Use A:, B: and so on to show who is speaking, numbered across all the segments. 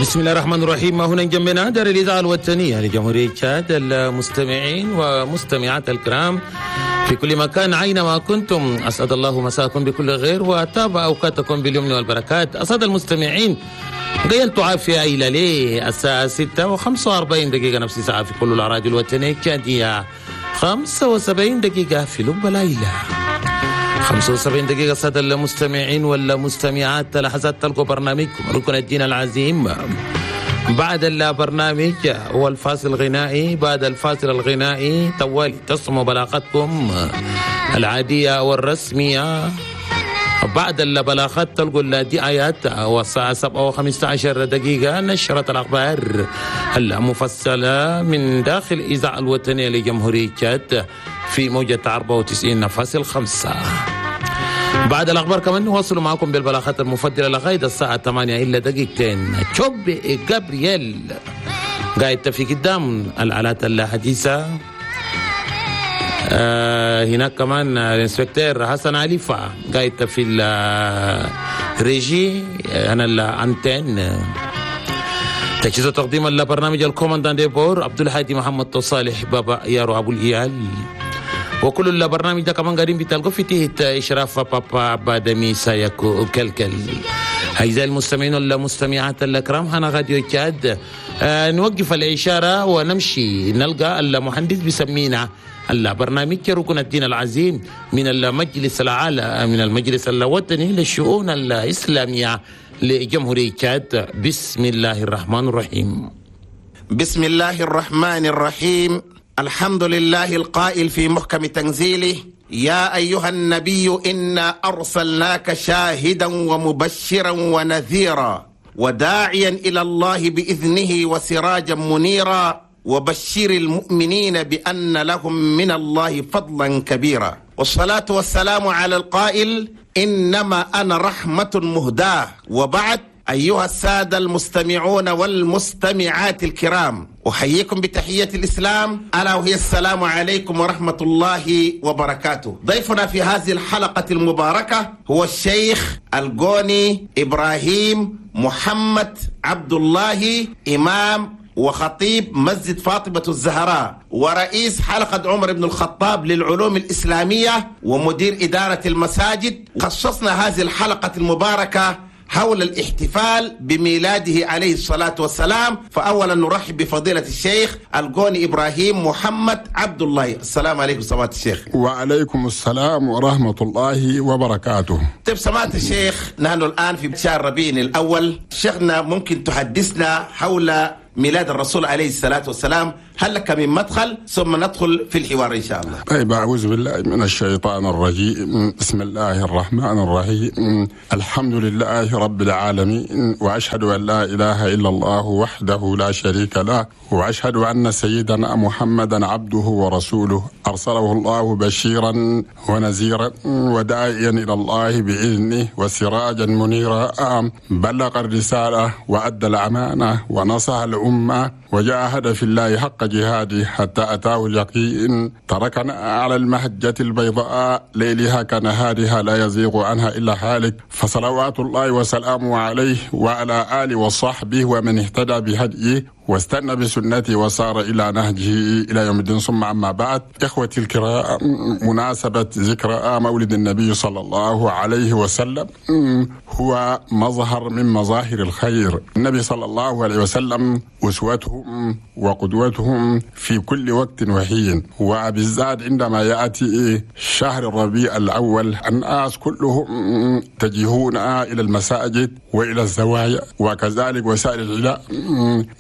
A: بسم الله الرحمن الرحيم. هنا جنبنا دار الإذاعة الوطنية لجمهورية تشاد، المستمعين ومستمعات الكرام في كل مكان أينما كنتم، أسعد الله مساءكم بكل خير وطاب أوقاتكم باليمن والبركات. أسعد المستمعين قيلتوا عافية إلى ليه الساعة 6:45 نفس ساعة في كل الأراضي الوطنية التشادية، 75 دقيقة في لب ليلى، 75 دقيقة. سادة المستمعين والمستمعات، لحظات تلقوا برنامجكم ركن الدين العظيم. بعد البرنامج والفاصل الغنائي، بعد الفاصل الغنائي طوالي تصموا بلاغتكم العادية والرسمية. بعد البلاغات تلقوا الدعايات، والساعة 7:15 نشرة الأخبار المفصلة من داخل الإذاعة الوطنية لجمهورية تشاد في موجة 94.5. بعد الأخبار كمان نواصل معكم بالبلاغات المفضلة لغاية الساعة 7:58. تشوب جابرييل قاعد في قدام الآلات الحديثة. هناك كمان ال inspecteur حسن عليفة قاعد في الريجي أنا ال antenne. تجهيز تقديم البرنامج ال commandant de bord عبد الهادي محمد صالح بابا يارو أبو الإيال. وكل البرنامج ده كمان قاعدين بتلقوا في تحت إشراف بابا بادمي سايكو كلكل. أعزائي المستمعين والمستمعات الكرام، هنا راديو تشاد. نوقف الإشارة ونمشي نلقى المهندس بيسمينا البرنامج ركن الدين العظيم من المجلس الأعلى من المجلس الوطني للشؤون الإسلامية لجمهورية تشاد. بسم الله الرحمن الرحيم.
B: بسم الله الرحمن الرحيم. الحمد لله القائل في محكم تنزيله: يا أيها النبي إنا أرسلناك شاهدا ومبشرا ونذيرا وداعيا إلى الله بإذنه وسراجا منيرا وبشر المؤمنين بأن لهم من الله فضلا كبيرا. والصلاة والسلام على القائل: إنما أنا رحمة مهداة. وبعد، أيها السادة المستمعون والمستمعات الكرام، أحييكم بتحية الإسلام، ألا وهي السلام عليكم ورحمة الله وبركاته. ضيفنا في هذه الحلقة المباركة هو الشيخ الجوني إبراهيم محمد عبد الله، إمام وخطيب مسجد فاطمة الزهراء ورئيس حلقة عمر بن الخطاب للعلوم الإسلامية ومدير إدارة المساجد. خصصنا هذه الحلقة المباركة حول الاحتفال بميلاده عليه الصلاة والسلام. فأولا نرحب بفضيلة الشيخ الجوني إبراهيم محمد عبد الله. السلام عليكم سماحة الشيخ.
C: وعليكم السلام ورحمة الله وبركاته.
B: طيب سماحة الشيخ، نحن الآن في شهر ربيع الأول، شيخنا ممكن تحدثنا حول ميلاد الرسول عليه الصلاة والسلام؟ هل لك من مدخل؟ ثم ندخل في الحوار إن شاء الله.
C: طيب، أعوذ بالله من الشيطان الرجيم. بسم الله الرحمن الرحيم. الحمد لله رب العالمين، وأشهد أن لا إله إلا الله وحده لا شريك له، وأشهد أن سيدنا محمدا عبده ورسوله، أرسله الله بشيرا ونذيرا وداعيا إلى الله بإذنه وسراجا منيرا، بلغ الرسالة وأدى الأمانة ونصح الأمة وجاهد في الله حق جهاده حتى أتاه اليقين، تركنا على المهجة البيضاء ليلها كنهارها لا يزيغ عنها إلا هالك، فصلوات الله وسلامه عليه وعلى آله وصحبه ومن اهتدى بهديه واستنى بسنته وصار إلى نهجه إلى يوم الدين. ثم أما بعد، إخوتي الكرام، مناسبة ذكرى مولد النبي صلى الله عليه وسلم هو مظهر من مظاهر الخير. النبي صلى الله عليه وسلم أسوتهم وقدوتهم في كل وقت وحين، وبالذات عندما يأتي شهر الربيع الأول الناس كلهم يتجهون إلى المساجد وإلى الزوايا وكذلك وسائل العلاء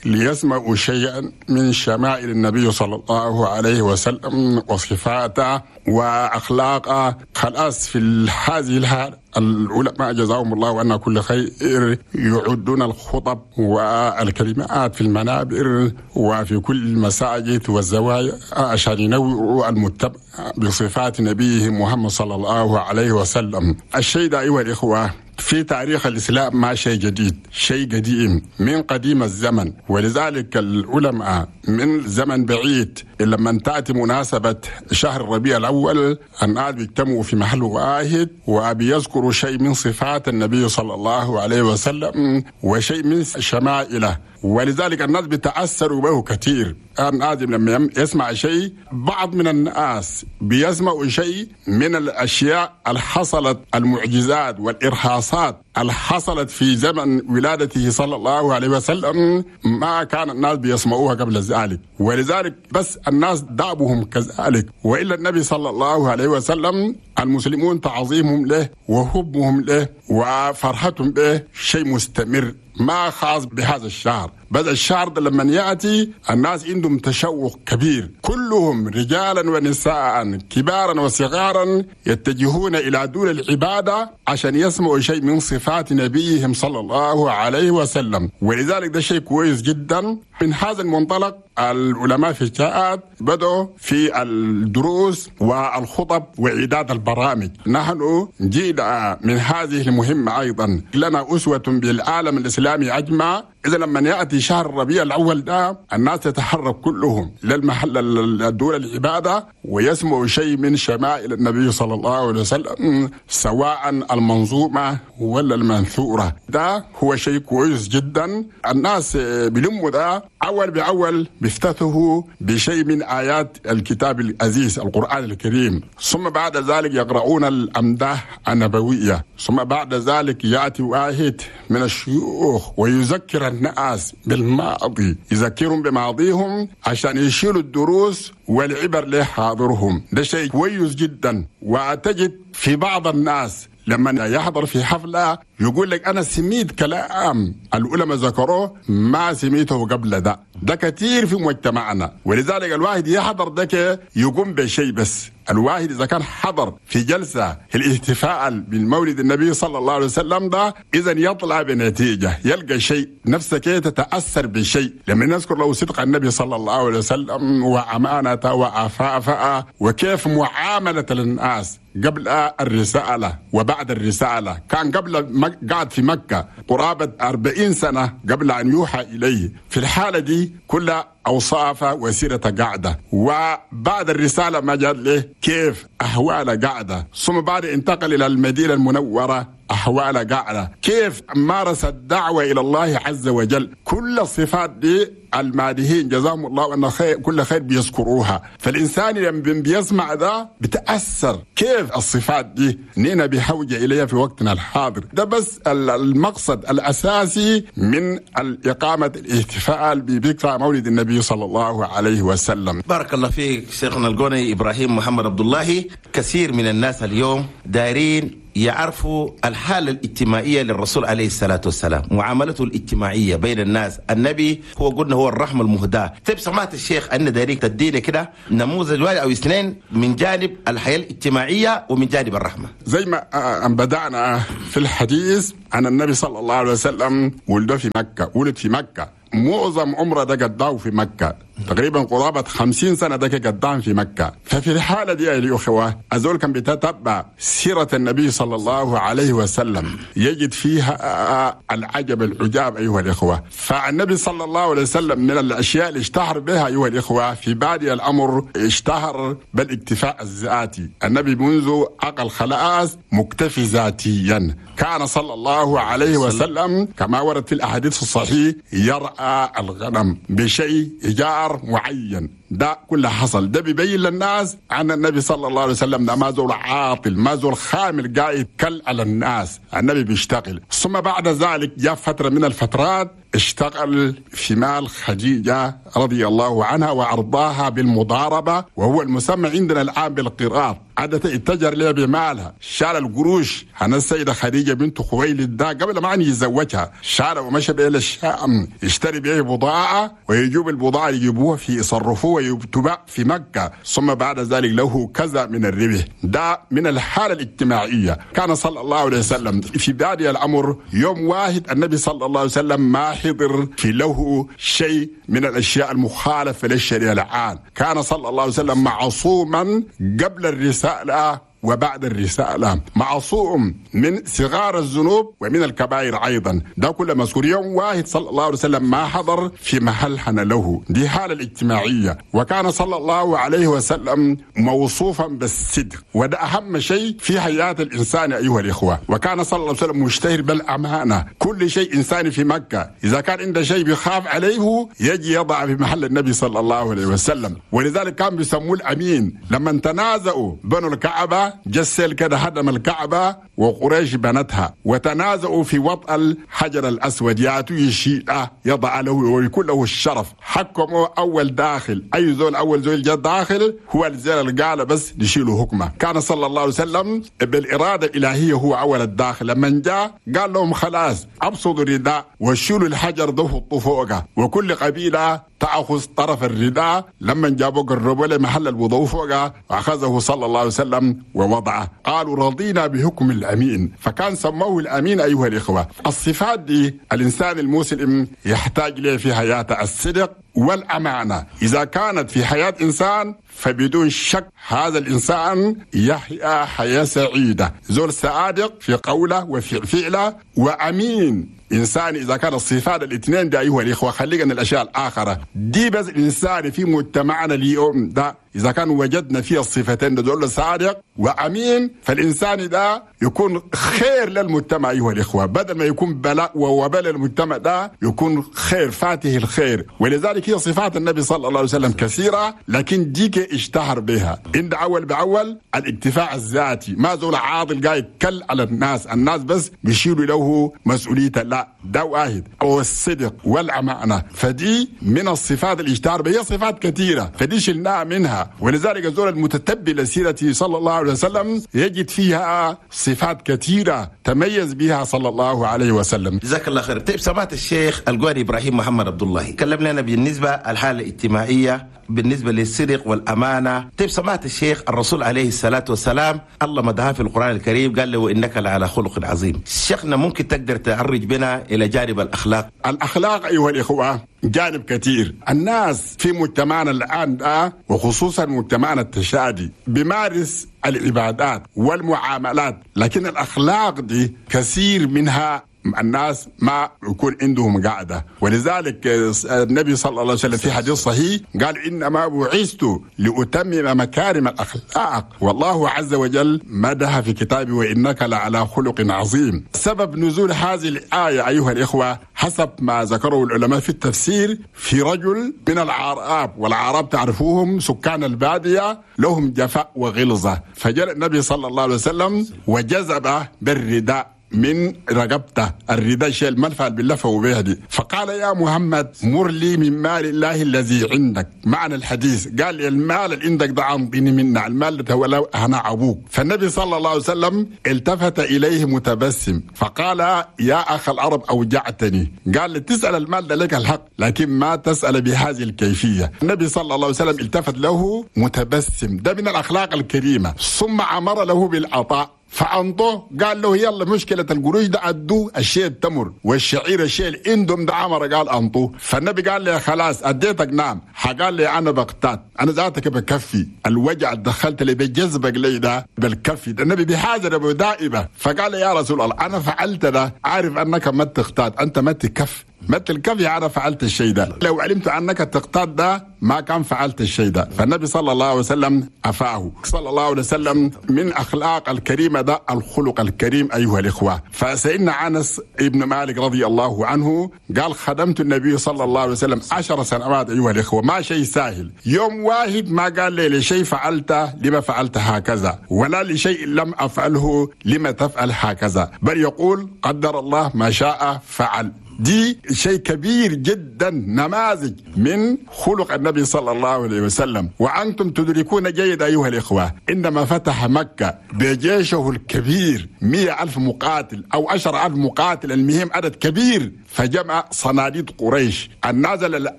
C: ليسمعوا شيئا من شمائل النبي صلى الله عليه وسلم وصفاته وأخلاقه. خلاص في هذه الحال العلماء جزاهم الله عنا كل خير يعدون الخطب والكلمات في المنابر وفي كل المساجد والزوايا عشان ينوروا المتبع بصفات نبيه محمد صلى الله عليه وسلم. الشيء ده أيها الإخوة في تاريخ الإسلام ما شيء جديد، شيء قديم من قديم الزمن، ولذلك العلماء من زمن بعيد لما تأتي مناسبة شهر الربيع الأول الناس بيجتمعوا في محل واحد وبيذكروا شيء من صفات النبي صلى الله عليه وسلم وشيء من شمائله، ولذلك الناس بيتأثروا به كثير. الناس لما يسمع شيء، بعض من الناس بيسمعوا شيء من الأشياء اللي حصلت، المعجزات والإرهاصات اللي حصلت في زمن ولادته صلى الله عليه وسلم، ما كان الناس بيسمعوها قبل ذلك، ولذلك بس الناس دابهم كذلك. وإلا النبي صلى الله عليه وسلم المسلمون تعظيمهم له وحبهم له وفرحتهم به شيء مستمر، ما خاص بهذا الشهر. بس الشهر ده لما يأتي الناس عندهم تشوق كبير، كلهم رجالا ونساء كبارا وصغارا يتجهون إلى دور العبادة عشان يسمعوا شيء من صفات نبيهم صلى الله عليه وسلم، ولذلك ده شيء كويس جدا. من هذا المنطلق العلماء في الجاءات بدأوا في الدروس والخطب وإعداد البرامج. نحن جينا من هذه المهمة أيضا، لنا أسوة بالعالم الإسلامي أجمع. إذا لما يأتي شهر الربيع الأول ده الناس تتحرك كلهم للمحل الدول العبادة ويسمعوا شيء من شمائل النبي صلى الله عليه وسلم، سواء المنظومة ولا المنثورة. ده هو شيء كويس جدا. الناس بلموا ده أول بأول، بيفتتحوا بشيء من آيات الكتاب العزيز القرآن الكريم، ثم بعد ذلك يقرؤون الأمداح النبوية، ثم بعد ذلك يأتي واحد من الشيوخ ويذكر الناس بالماضي، يذكرهم بماضيهم عشان يشيلوا الدروس والعبر لحاضرهم. ده شيء كويس جدا. وتجد في بعض الناس لما يحضر في حفلة يقول لك أنا سميت كلام العلماء ذكروه ما سميته قبل ده. ده كثير في مجتمعنا، ولذلك الواحد يحضر ده يقوم بشيء. بس الواحد إذا كان حضر في جلسة الاحتفال بالمولد النبي صلى الله عليه وسلم ده، إذا يطلع بنتيجة، يلقى شيء، نفسك تتأثر بشيء لما نذكر له صدق النبي صلى الله عليه وسلم وأمانته وعفافه وكيف معاملة للناس قبل الرسالة وبعد الرسالة. كان قبل قعد في مكة قرابة 40 سنة قبل أن يوحى إليه. في الحالة دي كل أوصافه وسيرة قاعدة، وبعد الرسالة ما جاء له كيف أحوال قاعدة، ثم بعد انتقل إلى المدينة المنورة أحوال قاعدة، كيف مارس الدعوة إلى الله عز وجل. كل الصفات دي المادهين جزاهم الله أن خير، كل خير بيذكروها. فالإنسان لما بيسمع ده بتأثر كيف الصفات دي نينا بحوجة إليها في وقتنا الحاضر. ده بس المقصد الأساسي من الإقامة الاحتفال بذكرى مولد النبي صلى الله عليه وسلم.
B: بارك الله فيك شيخنا القوني إبراهيم محمد عبد الله. كثير من الناس اليوم دارين يعرفوا الحالة الاجتماعية للرسول عليه الصلاة والسلام، معاملته الاجتماعية بين الناس. النبي هو قلنا هو الرحمة المهداة. طيب سمعت الشيخ أن داريك تدينا كده نموذج واحد أو اثنين من جانب الحياة الاجتماعية ومن جانب الرحمة.
C: زي ما بدأنا في الحديث عن النبي صلى الله عليه وسلم، ولد في مكة، ولد في مكة، معظم عمره ده قضاه في مكة، تقريبا قرابة 50 سنة ده قدام في مكة. ففي الحالة دي يا الأخوة أزول كان بيتتبع سيرة النبي صلى الله عليه وسلم يجد فيها العجب العجاب أيها الإخوة. فالنبي صلى الله عليه وسلم من الأشياء اللي اشتهر بها أيها الإخوة في بادئ الأمر اشتهر بالاكتفاء الذاتي. النبي منذ عقل خلاص مكتفي ذاتيا. كان صلى الله عليه وسلم كما ورد في الأحاديث الصحيح يرعى الغنم بشيء إيجار معين. ده كله حصل، ده بيبين للناس عن النبي صلى الله عليه وسلم ده ما زول عاطل، ما زول خامل قاعد كل على الناس، النبي بيشتغل. ثم بعد ذلك جاء فترة من الفترات اشتغل في مال خديجة رضي الله عنها وأرضاها بالمضاربة، وهو المسمى عندنا الآن بالقراط. عادة اتجر لها بمالها، شال القروش. أنا السيدة خديجة بنت خويلد ده قبل ما أن يتزوجها شال ومشى بها للشام، يشتري بها بضاعة ويجيب البضاعة يجيبوها في يصرفوها ويتباع في مكة، ثم بعد ذلك له كذا من الربح. ده من الحالة الاجتماعية. كان صلى الله عليه وسلم في بادئ الأمر يوم واحد النبي صلى الله عليه وسلم ما حضر في له شيء من الأشياء المخالفة للشريعة الآن. كان صلى الله عليه وسلم معصوما قبل الرسالة وبعد الرسالة، معصوم من صغار الذنوب ومن الكبائر أيضا. ده كل مذكور. يوم واحد صلى الله عليه وسلم ما حضر في محل حن له، دي حالة الاجتماعية. وكان صلى الله عليه وسلم موصوفا بالصدق، وده أهم شيء في حياة الإنسان أيها الإخوة. وكان صلى الله عليه وسلم مشتهر بالأمانة، كل شيء إنساني في مكة إذا كان عنده شيء بيخاف عليه يجي يضع في محل النبي صلى الله عليه وسلم، ولذلك كان بيسموه الأمين. لما تنازعوا بنوا الكعبة، جسل كده هدم الكعبة وقريش بنتها، وتنازعوا في وطأ الحجر الأسود، يأتوا يشيء يضع له ويكون له الشرف. حكموا أول داخل، أي زول أول زول جاء داخل هو الزول اللي قال بس نشيله حكمه. كان صلى الله عليه وسلم بالإرادة الإلهية هو أول الداخل. لما جاء قال لهم خلاص أبسطوا الرداء وشيلوا الحجر ده حطوه فوقه، وكل قبيلة تأخذ طرف الرداء. لما جابوا قربوا لمحل الوضوء فوقه أخذه صلى الله عليه وسلم ووضعه. قالوا رضينا بحكم الأمين، فكان سموه الأمين أيها الإخوة. الصفات دي الإنسان المسلم يحتاج لها في حياته، الصدق والأمانة. إذا كانت في حياة إنسان فبدون شك هذا الإنسان يحيا حياة سعيدة، زول صادق في قوله وفي فعله وأمين. إنسان إذا كان الصفات الاثنين دي أيها الإخوة، خلينا الأشياء الآخرة دي بس. الإنسان في مجتمعنا اليوم ده إذا كان وجدنا فيه الصفتين دول صادق وأمين، فالإنسان ده يكون خير للمجتمع أيها الإخوة، بدل ما يكون بلاء ووبال المجتمع ده يكون خير، فاته الخير. ولذلك هي صفات النبي صلى الله عليه وسلم كثيرة، لكن ديك اشتهر بها. عند أول بأول الاكتفاء الذاتي، ما زول عاضل قاعد كل على الناس، الناس بس بيشيلوا له مسؤولية، لا ده واحد. أو الصدق والأمانة، فدي من الصفات اللي اشتهر بها، صفات كثيرة فدي شلناها منها. ولذلك الزول المتتبع لسيرته صلى الله عليه وسلم يجد فيها صفات كثيرة تميز بها صلى الله عليه وسلم.
B: جزاك الله خير. طيب سمعت الشيخ القاري إبراهيم محمد عبد الله كلم لنا بالنسبة الحالة الاجتماعية بالنسبة للصدق والأمانة. طيب سمعت الشيخ الرسول عليه الصلاة والسلام الله مدحه في القرآن الكريم قال له إنك لعلى خلق عظيم. شيخنا ممكن تقدر تعرج بنا إلى جانب الأخلاق؟
C: الأخلاق أيها الإخوة جانب كثير. الناس في مجتمعنا الآن ده وخصوصا مجتمعنا التشادي بيمارس العبادات والمعاملات، لكن الأخلاق دي كثير منها الناس ما يكون عندهم قاعدة. ولذلك النبي صلى الله عليه وسلم في حديث صحيح قال إنما بعثت لأتمم مكارم الأخلاق، والله عز وجل مدح في كتابه وإنك لعلى خلق عظيم. سبب نزول هذه الآية أيها الإخوة حسب ما ذكره العلماء في التفسير في رجل من العراب، والعرب تعرفوهم سكان البادية لهم جفاء وغلظة، فجاء النبي صلى الله عليه وسلم وجذب بالرداء من رقبته، الرداء شيء الملفع باللفة وبيه دي، فقال يا محمد مر لي من مال الله الذي عندك. معنى الحديث قال المال اللي عندك ده عمطيني منا، المال ده هو أنا أبوك. فالنبي صلى الله عليه وسلم التفت إليه متبسم فقال يا أخ العرب أوجعتني. قال تسأل المال ده لك الحق، لكن ما تسأل بهذه الكيفية. النبي صلى الله عليه وسلم التفت له متبسم، ده من الأخلاق الكريمة. ثم أمر له بالعطاء فأنطوه، قال له يلا مشكلة القروش ده أدوه الشيء التمر والشعير الشيء الاندم ده عمر قال أنطوه. فالنبي قال لي خلاص أديتك نعم. قال لي أنا بقتات، أنا ذاتك بكفي الوجع دخلت لي بجذبك لي ده بالكفي ده. النبي بحاجة أبو دائبة. فقال لي يا رسول الله أنا فعلت ده، عارف أنك ما تقتات، أنت ما تكف مثل الكفي، أنا فعلت الشيء ده، لو علمت أنك تقتات ده ما كان فعلت الشيء ده. فالنبي صلى الله عليه وسلم أفاه صلى الله عليه وسلم. من أخلاق الكريمة ده الخلق الكريم أيها الإخوة. فسيدنا أنس ابن مالك رضي الله عنه قال خدمت النبي صلى الله عليه وسلم 10 سنوات أيها الإخوة، ما شيء سهل. يوم واحد ما قال لي لشيء فعلته لما فعلت هكذا، ولا لشيء لم أفعله لما تفعل هكذا، بل يقول قدر الله ما شاء فعل. دي شيء كبير جدا، نماذج من خلق النبي صلى الله عليه وسلم. وأنتم تدركون جيد أيها الإخوة عندما فتح مكة بجيشه الكبير 100,000 مقاتل أو 10,000 مقاتل، المهم عدد كبير، فجمع صناديد قريش، الناس اللي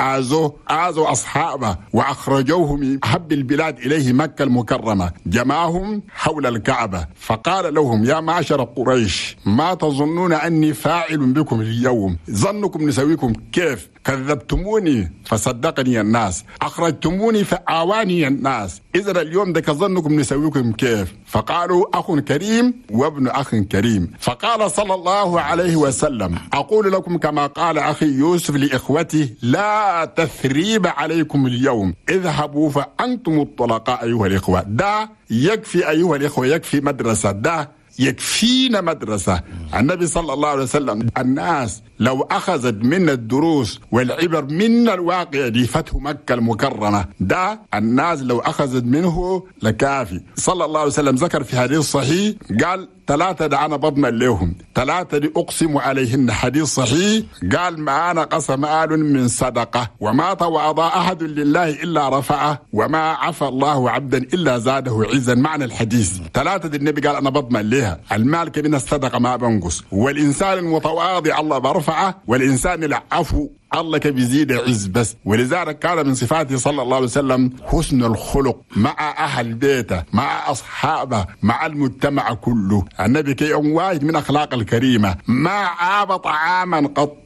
C: آذوا أصحابه وأخرجوه من أحب البلاد إليه مكة المكرمة، جمعهم حول الكعبة فقال لهم: يا معشر قريش، ما تظنون أني فاعل بكم اليوم؟ ظنكم نسويكم كيف؟ كذبتموني فصدقني الناس، أخرجتموني فآواني الناس، إذا اليوم ده ظنكم نسويكم كيف؟ فقالوا: أخ كريم وابن أخ كريم. فقال صلى الله عليه وسلم: أقول لكم كما قال أخي يوسف لإخوته: لا تثريب عليكم اليوم، اذهبوا فأنتم الطلقاء أيها الإخوة. ده يكفي أيها الإخوة، يكفي مدرسة، ده يكفينا مدرسة. النبي صلى الله عليه وسلم الناس لو أخذت من الدروس والعبر من الواقع دي فتح مكة المكرمة، ده الناس لو أخذت منه لكافي. صلى الله عليه وسلم ذكر في حديث صحيح قال: 3 ده أنا بضمن لهم، 3 دي أقسم عليهن. حديث صحيح قال: ما نقص مال من صدقة، وما تواضع أحد لله إلا رفعه، وما عفى الله عبدا إلا زاده عزا. معنى الحديث 3 دي النبي قال أنا بضمن لها: المال من الصدقة ما بنقص، والإنسان المتواضع الله برفعه، والإنسان العفو الله بيزيد عز بس. ولذلك كان من صفاته صلى الله عليه وسلم حسن الخلق مع أهل بيته، مع أصحابه، مع المجتمع كله. النبي كي واحد من أخلاق الكريمة، ما عاب طعاما قط،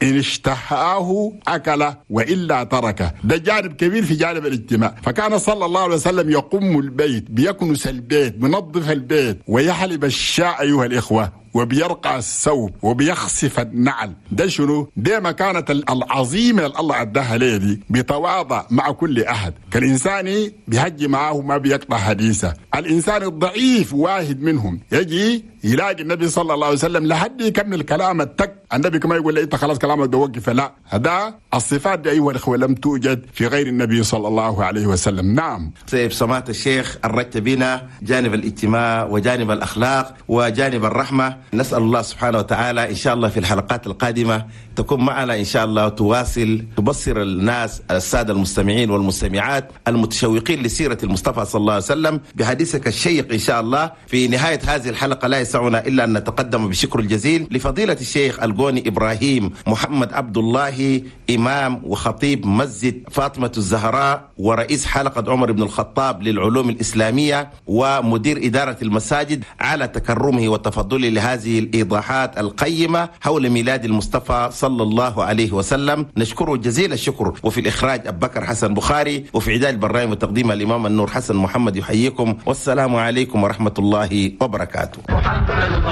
C: إن اشتهاه أكله وإلا تركه. ده جانب كبير في جانب الاجتماع. فكان صلى الله عليه وسلم يقوم البيت، بيكنس البيت، بينظف البيت، ويحلب الشاء أيها الإخوة، وبيرقع الثوب، وبيخسف النعل. ده شنو؟ ده مكانة العظيمة اللي الله أداها ليه دي، بيتواضع مع كل أحد. كالإنسان بيهجي معه ما بيقطع حديثه. الإنسان الضعيف واحد منهم يجي يلاقي النبي صلى الله عليه وسلم لحد يكمل كلامه التك، النبي كما يقول له انت خلاص كلامك ده وقف. لا، هذا الصفات دي ايها الاخوه لم توجد في غير النبي صلى الله عليه وسلم. نعم.
B: طيب سماحة الشيخ، أرجت بنا جانب الاجتماع وجانب الأخلاق وجانب الرحمة. نسأل الله سبحانه وتعالى إن شاء الله في الحلقات القادمة تكون معنا إن شاء الله، تواصل تبصر الناس السادة المستمعين والمستمعات المتشوقين لسيرة المصطفى صلى الله عليه وسلم بحديثك الشيق إن شاء الله. في نهاية هذه الحلقة لا يسعنا إلا أن نتقدم بشكر الجزيل لفضيلة الشيخ القوني إبراهيم محمد عبد الله، إمام وخطيب مسجد فاطمة الزهراء ورئيس حلقة عمر بن الخطاب للعلوم الإسلامية ومدير إدارة المساجد، على تكرمه وتفضله لهذه الإيضاحات القيمة حول ميلاد المصطفى صلى الله عليه وسلم. نشكره جزيل الشكر. وفي الإخراج أبو بكر حسن بخاري، وفي إعداد البرنامج وتقديم الإمام النور حسن محمد يحييكم، والسلام عليكم ورحمة الله وبركاته.